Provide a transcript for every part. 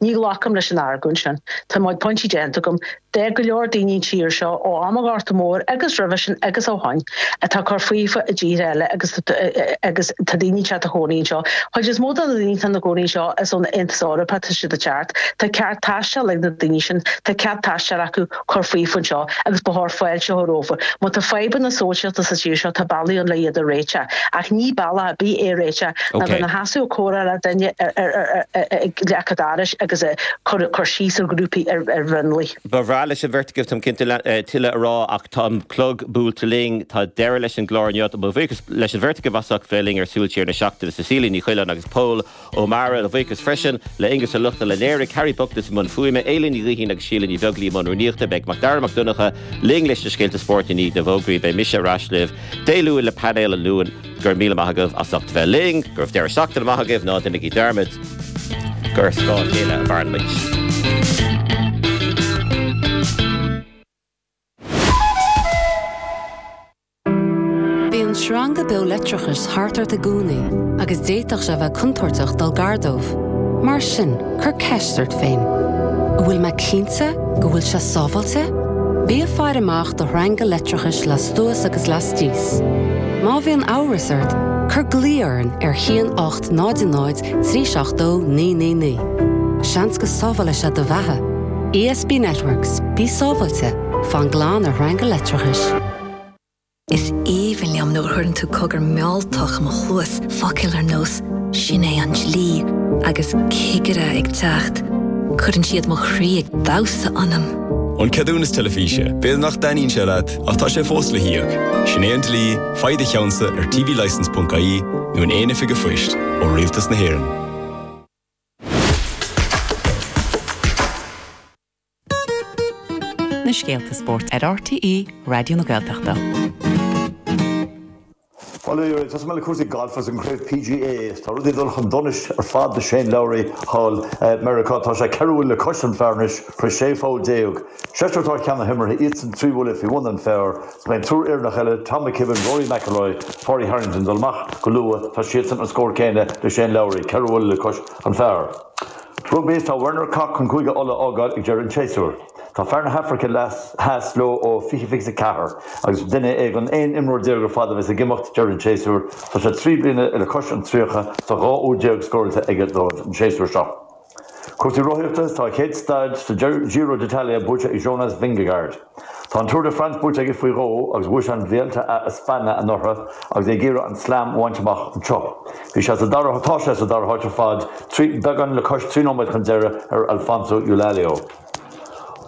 Ní ghlacaim leis an argóint sin. Tá mo chuid pointí déanta agam. Tá go leor daoine an tír seo, ó am an Ghorta Mhóir agus roimhe sin agus ó shoin, atá ag cur faofa i dtíortha eile agus agus tá daoine ag teacht a chónaí anseo. Chuid is mó de na daoine atá ina gcónaí anseo is ón Aontas Eorpach atá siad ag teacht. Tá ceart taistil ag na daoine sin. Tá cead taistil acu cur faofa anseo agus ba chóir fáilte a chur rompu. Má tá fadhbanna sóisialta sa tír seo tá bealaí ann le iad a réiteach ach ní bealach ar bith é a réiteach ná bheith ina sheasamh ag comhrá le duine ag leac an dorais agus ag cur síos ar ghrúpaí ar mhionlaigh. Ba bhreá leis an bheirt agaibh, táim cinnte, tuilleadh a rá ach tá an clog buailte linn. Tá deireadh leis an gclár inniu. Mo bhuíochas leis an bheirt agaibh as ucht bheith linn ar Súil Siar na Seachtaine, Cecilia Ní Choileáin agus Pól Ó Meára. Mo bhuíochas freisin le Aengus Ó Lochlainn a léirigh, Harry Buckless i mbun fuaime, Éilín Ní Ghaoithín agus Síle Ní Bheaglaoí i mbun rúnaíochta. Beidh Macdara Mac Donncha linn leis na scéalta spóirt i ndiaidh na bhfógraí. Beidh mise ar ais libh Dé Luain le painéal an Luain. Go raibh míle maith agaibh as ucht bheith linn. Go raibh deireadh seachtaine maith agaibh. Ná déanaigí dearmad gur ar scáth a chéile a mhaireann muid. Bíonn sreanga beo leictreachais thart ort i gcónaí agus d'fhéadfadh sé a bheith contúirteach dul gar dóibh. Mar sin, cuir ceist ort féin, An bhfuil mé cinnte go bhfuil sé sábháilte? Bí ag faire amach do shreanga leictreachais lastuas agus lastíos. Má bhíonn amhras ort, cuir glao orainn ar 1 8 0 0 3 7 2 9 9 9. Seans go sábhálfaidh sé do bheatha. ESB Networks, bí sábháilte, fan glan ar shreanga leictreachais. Is aoibhinn liom nuair a chuireann tú cogar mealltach i mo chluas, focail ar nós 'Sin é an dlí' agus 'Cigire ag teacht'. Cuireann siad mo chroí ag damhsa ionam. An ceadúnas teilifíse, b'fhéidir nach dtaitníonn sé leat, ach tá sé fós le híoc. Sin é an dlí, faigh do cheannsa ar tvlicence.ie nó in aon oifig an phoist ó Rialtas na hÉireann. Na scéalta spóirt ar RTÉ Raidió na Gaeltachta. Bhuel, tosóidh mé le cúrsaí gailf agus an chraobh PGA. Tá rudaí ag dul chun donais ar fad do Shane Lowry thall i Meiriceá. Tá sé 4 bhuille le cois an phar anois tar éis 16 pholl. Seisear atá cheana himeartha, iadsan 3 bhuille faoi bhun an phar. Is beidh an triúr Éireannach eile, Tom McKibbin, Rory McIlroy, Pádraig Harrington, ag dul amach go luath. Tá siadsan an scór céanna le Shane Lowry, 4 bhuille le cois an phar. Rugbaí Tá Werner Kok chun Cúige Uladh a fhágáil ag deireadh an tséasúir. Tá fear na hAfraice Theas leo ó 2024 agus duine é den 11 imreoir ar fad a bheas ag imeacht deireadh an tséasúir. Tá sé 3 bliana le cois an 30 is tá 12 úd scóráilte aige dóibh an séasúr seo. Cúrsaí rothaíochta Tá a chéad staid sa Giro d'Italia buaite ag Jonas Vingegaard. Tá an Tour de France buaite aige faoi dhó agus bhuaigh sé an Vuelta a España anuraidh agus é ag iarraidh an Slam a bhaint amach anseo. Bhí sé sa dara tá sé sa dara háit ar fad, beagán le cois 3 nóiméad chun deiridh ar Alfonso Eulalio.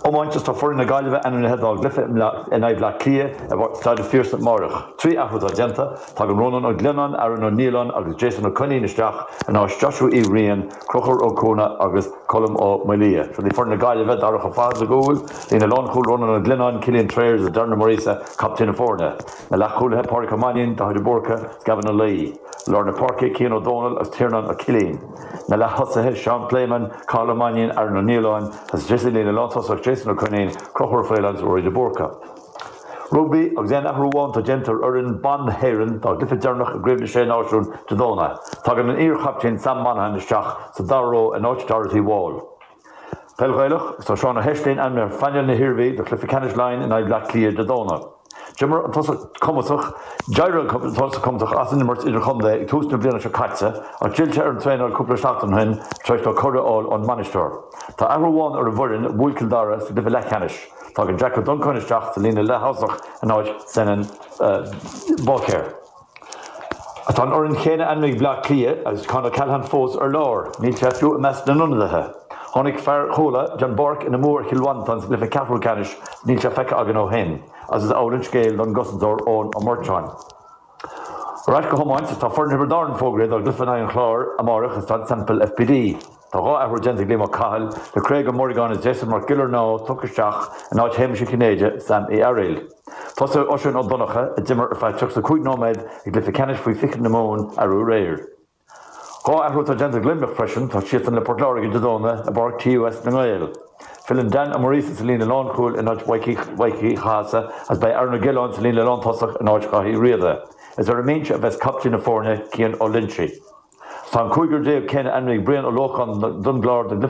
Iomáint Is tá foireann na Gaillimhe ainmnithe dá gcluiche in aghaidh Bhaile Átha Cliath i Staid an Phiarsaigh amárach. 3 athrú atá déanta, tagann Rónán Ó Glionnáin, Aaron Ó Nialláin agus Jason Ó Coinín isteach in áit Joshua Uí Riain, Conchúr Ó Cuana agus Colm Ó Maolaodha. Seo í foireann na Gaillimhe, Darach Ó Fatharta sa gcúl, líne lánchúil, Rónán Ó Glionnáin, Cillian Trayers agus Darren Ó Muiríosa, captaen na foirne. Na leathchúlaithe, Pádraic Ó Mainnín, Daithí de Búrca agus Gavin Ó Laoi. Lár na páirce, Cian Ó Dónaill agus Tiarnán Ó Cillín. Na leath-thosaithe, Seán Pléimeann, Cathal Ó Mainnín, Aaron Ó Nialláin agus sa líne lántosach, Jason Ó Coinín, Conchúr Ó Faoláin agus Ruairí de Búrca. Rugbaí, agus aon athrú amháin atá déanta ar fhoireann ban na hÉireann dá gcluiche deireanach i gCraobh na Sé Náisiún Dé Domhnaigh. Tagann an iar-chaptaen Sam Monaghan isteach sa dara ró in áit Dorothy Wall. Peil Ghaelach, agus tá Seán Ó hEisléin ainmnithe ar phainéal na hIarmhí do chluiche ceannais Laighean in aghaidh Bhaile Átha Cliath Dé Domhnaigh. D'imir an tosach cumasach, d'éirigh an tosach cumasach as an imirt idirchontae ag tús na bliana seo caite ach d'fhill sé ar an traenáil cúpla seachtain ó shin tar éis dó cuireadh a fháil ón mbainisteoir. Tá athrú amháin ar an bhfoireann a bhuail Cill Dara sa gcluiche leathcheannais. Tagann Jack Ó Donnchadha isteach sa líne leath-thosach in áit Senan Báicéir. Tá an fhoireann chéanna ainmnithe ag Bleá Cliath agus Con O'Callaghan fós ar lár. Níl sé fiú i measc na n-ionadaithe. Tháinig fear Chuala den bpáirc ina mbua ar Chill Mhantáin sa gcluiche ceathrú ceannais is níl sé feicthe againn ó shin agus is amhlaidh an scéal don gcosantóir Eoin Ó Murcháin. Ar ais go hiomáint, tá foireann Thiobraid Árann fógraithe dá gcluiche in aghaidh an Chláir amárach i Staid Semple FBD. Tá 2 athrú déanta ag Liam Ó Cathail, le Craig Ó Muireagáin agus Jason Mac Giollarnáth tugtha isteach in áit Shéamais Uí Chinnéide, Sam Uí Fhearaíl. Tosóidh Oisín Ó Donnchadha, a d'imir ar feadh 35 nóiméad i gcluiche ceannais faoi 20 na Mumhan arú aréir. 2 athrú atá déanta ag Luimneach freisin, tá siadsan le Port Láirge Dé Domhnaigh i bPáirc TUS na nGael. Filleann Dan Ó Muiríosa sa líne lánchúil in áit Mhaidhcí Uí Chathasaigh agus beidh Aaron Ó Giolláin sa líne lántosach in áit Dhaithí Uí Riada. Is ar an mbinse a bheas captaen na foirne, Cian Ó Loinsigh. Tá an cúigear céanna ainmnithe ag Brian Ó Lócháin don gClár don gcluiche.